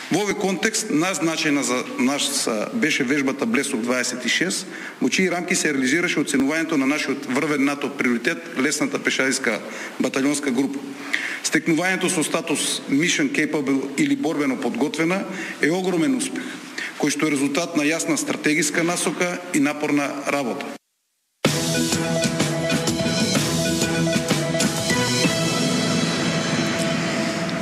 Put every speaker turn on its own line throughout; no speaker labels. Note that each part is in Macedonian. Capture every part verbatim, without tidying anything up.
Во овој контекст, назначена за нас беше вежбата Блесок дваесет и шест, во чии рамки се реализираше оценувањето на нашиот врвен НАТО приоритет, лесната пешадиска батальонска група. Стекнувањето со статус Mission Capable или борбено подготвена е огромен успех, кој што е резултат на јасна стратегиска насока и напорна работа.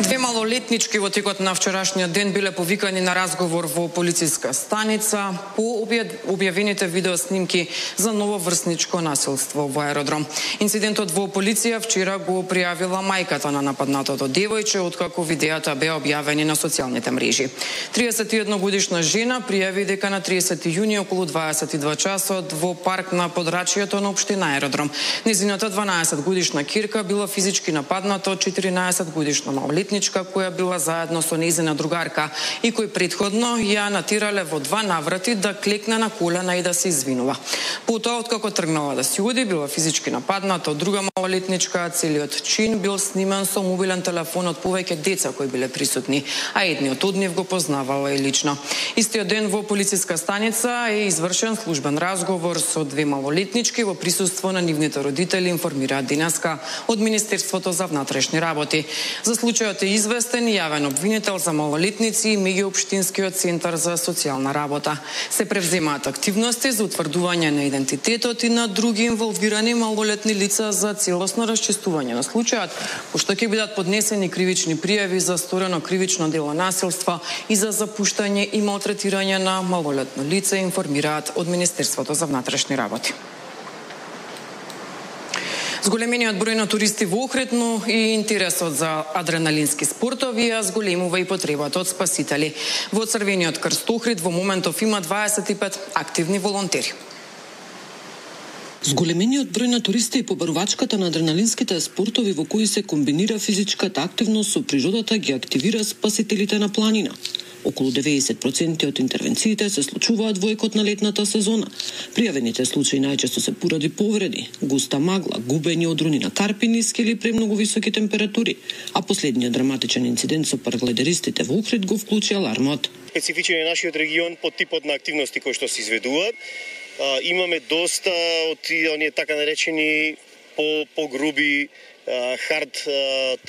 Две малолетнички во текот на вчерашниот ден биле повикани на разговор во полициска станица по објавените видеоснимки за нововрсничко насилство во аеродром. Инцидентот во полиција вчера го пријавила мајката на нападнатото девојче, откако видеата беа објавени на социјалните мрежи. триесет и една годишна жена пријави дека на триесети јуни околу дваесет и два часот во парк на подрачјето на општина Аеродром незината дванаесет годишна ќерка била физички нападната од четиринаесет годишна малолетничка која била заедно со нејзина другарка и кој претходно ја натирале во два наврати да клекне на колена и да се извинува. Потоа, откако тргнала да си оди, била физички нападната од друга малолетничка, целиот чин бил снимен со мобилен телефон од повеќе деца кои биле присутни, а едниот од нив го познавала и лично. Истиот ден во полициска станица е извршен службен разговор со две малолетнички во присуство на нивните родители, информираат денеска од Министерството за внатрешни работи. За случајот е известен јавен обвинител за малолетници и меѓуопштинскиот центар за социјална работа. Се превземаат активности за утврдување на идентитетот и на други инволвирани малолетни лица за целосно расчистување на случајот, пошто ќе бидат поднесени кривични пријави за сторено кривично дело насилство и за запуштање и малтретирање на малолетно лице, информираат од Министерството за внатрешни работи. Зголемениот број на туристи во Охрид, но и интересот за адреналински спортови ја зголемува и потребата од спасители. Во Црвениот крст Охрид во моментов има дваесет и пет активни волонтери.
Зголемениот број на туристи и побарувачката на адреналинските спортови во кои се комбинира физичката активност со природата ги активира спасителите на планина. Околу деветдесет проценти од интервенциите се случуваат во екот на летната сезона. Пријавените случаи најчесто се поради повреди, густа магла, губење одруни на карпи, ниски или премногу високи температури, а последниот драматичен инцидент со параглайдеристите во Охрид го вклучи алармот.
Специфичен е нашиот регион по типот на активности кои што се изведуваат. А, имаме доста од оние така наречени по погруби хард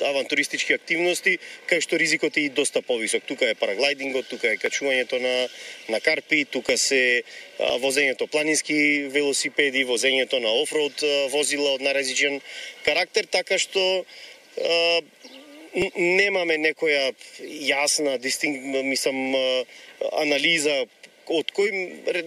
авантуристички активности, кај што ризикот е и доста повисок. Тука е параглайдингот, тука е качувањето на на карпи, тука се а, возењето планински велосипеди, возењето на офроуд возила од наразличен карактер, така што а, немаме некоја јасна дистинк, мислам, анализа од кој,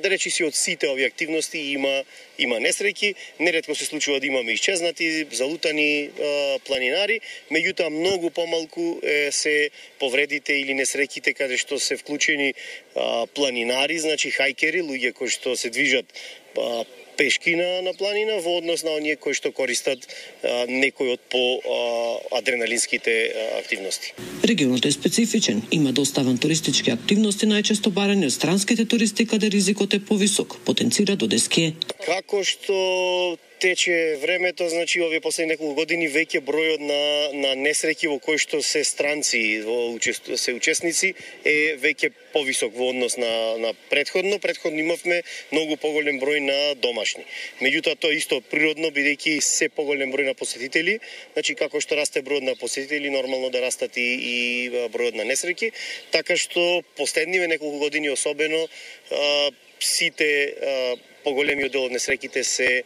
да речи си, од сите овие активности има има несреќи, неретко се случува да имаме исчезнати, залутани а, планинари, меѓутоа многу помалку е, се повредите или несреќите каде што се вклучени а, планинари, значи хајкери, луѓе кои што се движат а, пешки на, на планина во однос на оние кои што користат а, некои од по а, адреналинските а, активности.
Регионот е специфичен, има доста авантуристички активности, најчесто барани од странските туристи каде ризикот е повисок, потенцира Додеске.
Како што тече времето, значи овие последни неколку години веќе бројот на на несреќи во кои што се странци во учест, се учесници е веќе повисок во однос на на претходно. Претходно имавме многу поголем број на домашни. Меѓутоа тоа исто природно бидејќи се поголем број на посетители, значи како што расте бројот на посетители, нормално да растат и, и бројот на несреќи, така што последниве неколку години особено а, сите а, поголемиот дел од несреќите се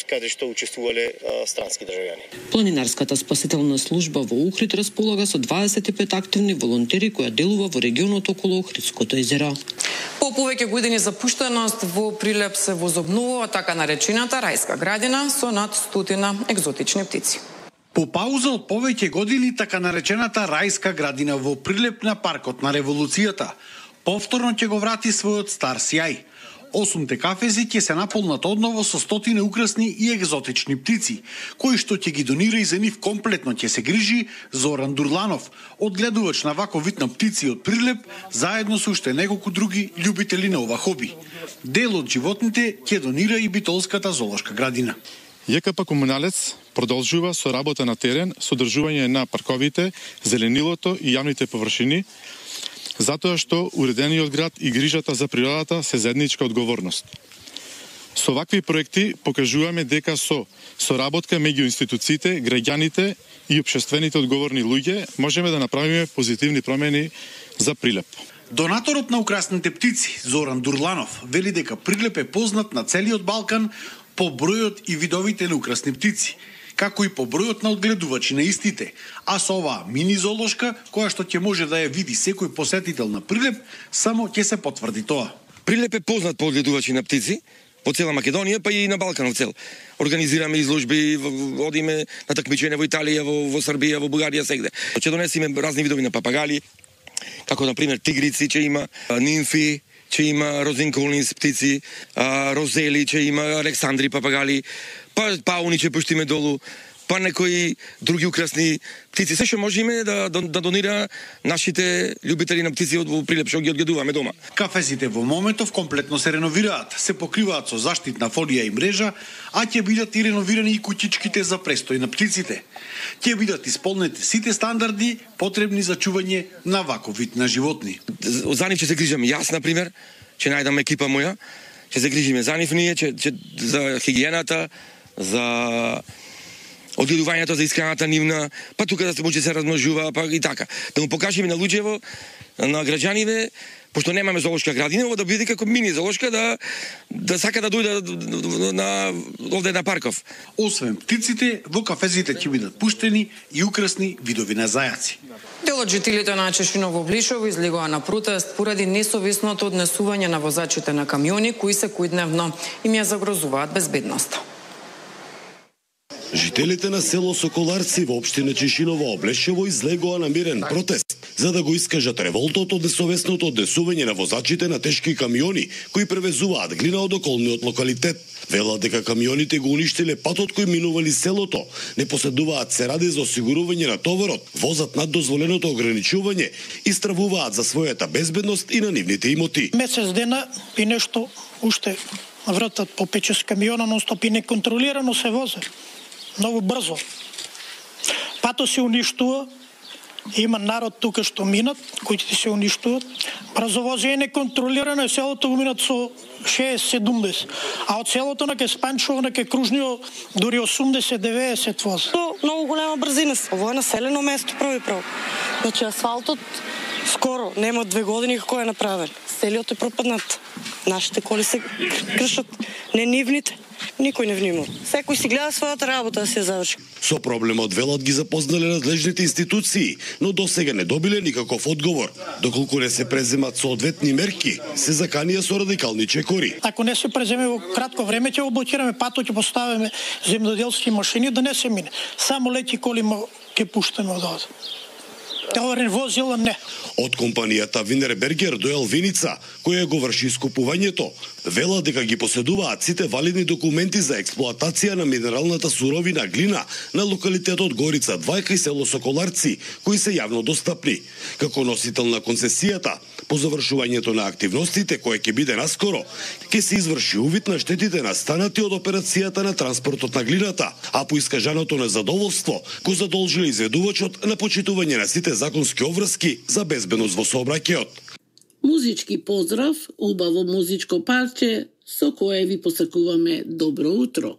каде што учествувале странски државјани.
Планинарската спасителна служба во Охрид располага со дваесет и пет активни волонтери која делува во регионот околу Охридското езеро.
По повеќе години запуштеност во Прилеп се возобновува така наречената рајска градина со над стотина екзотични птици.
По пауза од повеќе години така наречената рајска градина во Прилеп на паркот на револуцијата повторно ќе го врати својот стар сјај. Осумте кафези ќе се наполнат одново со стотина украсни и екзотични птици, кои што ќе ги донира и за нив комплетно ќе се грижи Зоран Дурланов, одгледувач на вако вид на птици од Прилеп, заедно со уште неколку други љубители на ова хоби. Дел од животните ќе донира и Битолската зоолошка градина.
ЈКП Комуналец продолжува со работа на терен, со одржување на парковите, зеленилото и јавните површини. затоа што уредениот град и грижата за природата се заедничка одговорност. Со вакви проекти покажуваме дека со соработка меѓу институциите, граѓаните и општествените одговорни луѓе можеме да направиме позитивни промени за Прилеп.
Донаторот на украсните птици Зоран Дурланов вели дека Прилеп е познат на целиот Балкан по бројот и видовите на украсни птици, како и по бројот на одгледувачи на истите, а со оваа мини зоолошка, која што ќе може да ја види секој посетител на Прилеп, само ќе се потврди тоа.
Прилеп е познат по одгледувачи на птици во цела Македонија, па и на Балканов цел. Организираме изложби, одиме на такмичење во Италија, во, во Србија, во Бугарија, сегде. Ќе донесеме разни видови на папагали, како на пример тигрици, че има нимфи, че има розинколнис птици, розели, че има александри папагали, па пауни че пуштиме долу, па некои други украсни птици. Се што можеме да, да, да донира нашите љубители на птици од Прилеп, што ги одгледуваме дома.
Кафезите во моментов комплетно се реновираат, се покриваат со заштитна фолија и мрежа, а ќе бидат и реновирани и куќичките за престој на птиците. Ќе бидат исполнети сите стандарди потребни за чување на ваков вид на животни.
За нив ќе се грижам јас, на пример, ќе најдам екипа моја, ќе се грижиме за нив ние, ќе, ќе, за хигиената, за одгледувањето, за исхраната нивна, па тука да се може се размножува, па и така. Да му покажеме на луѓево, на граѓаниве, пошто немаме зоолошка градина, ова да биде како мини зоолошка, да, да сака да дојде на, овде на Парков.
Освен птиците, во кафезите ќе бидат пуштени и украсни видови на зајаци.
Дел од жителите на Чешиново Блишево излегоа на протест поради несовесното однесување на возачите на камиони, кои секојдневно им ја загрозуваат безбедноста.
Жителите на село Соколарци во општина Чешиново Облешево излегоа на мирен протест за да го искажат револтот од несовесното однесување на возачите на тешки камиони кои превезуваат глина од околниот локалитет. Велат дека камионите го уништиле патот кој минували селото, не поседуваат се ради за осигурување на товарот, возат над дозволеното ограничување и стравуваат за својата безбедност и на нивните имоти.
Месец дена и нешто уште вратат по пет-шест камиона, но стоп и неконтролирано се возе. Многу брзо. Пато се уништува, има народ тука што минат, кои се уништуват. Брзовозие е неконтролирано, селото го минат со шеесет седумдесет, а од селото на ке Спанчево, на ке Кружнио, дури осумдесет девеесет вози.
Многу голема брзина. Ово е населено место прави право. Значи асфалтот скоро, нема две години како е направен. Целиот е пропаднат. Нашите коли се кршат, не нивните. Никој не внимава. Секој си гледа својата работа да се заврши.
Со проблемот велат ги запознале надлежните институции, но досега не добиле никаков одговор. Доколку не се преземат соодветни мерки, се заканија со радикални чекори.
Ако не се преземе во кратко време, ќе облокираме патот, ќе поставиме земјоделски машини да не се мине. Само леки коли ќе пуштаме од овде. Товарен возила не.
Од компанијата Винербергер до Елвиница, која го врши искупувањето, вела дека ги поседуваат сите валидни документи за експлоатација на минералната суровина глина на локалитетот Горица двајка и село Соколарци, кои се јавно достапни. Како носител на концесијата, по завршувањето на активностите, кој ќе биде наскоро, ќе се изврши увид на штетите настанати од операцијата на транспортот на глината, а по искажаното незадоволство го задолжиле изведувачот на почитување на сите законски обврски за безбедност во сообраќајот.
Музички поздрав, убаво музичко парче со кое ви посакуваме добро утро.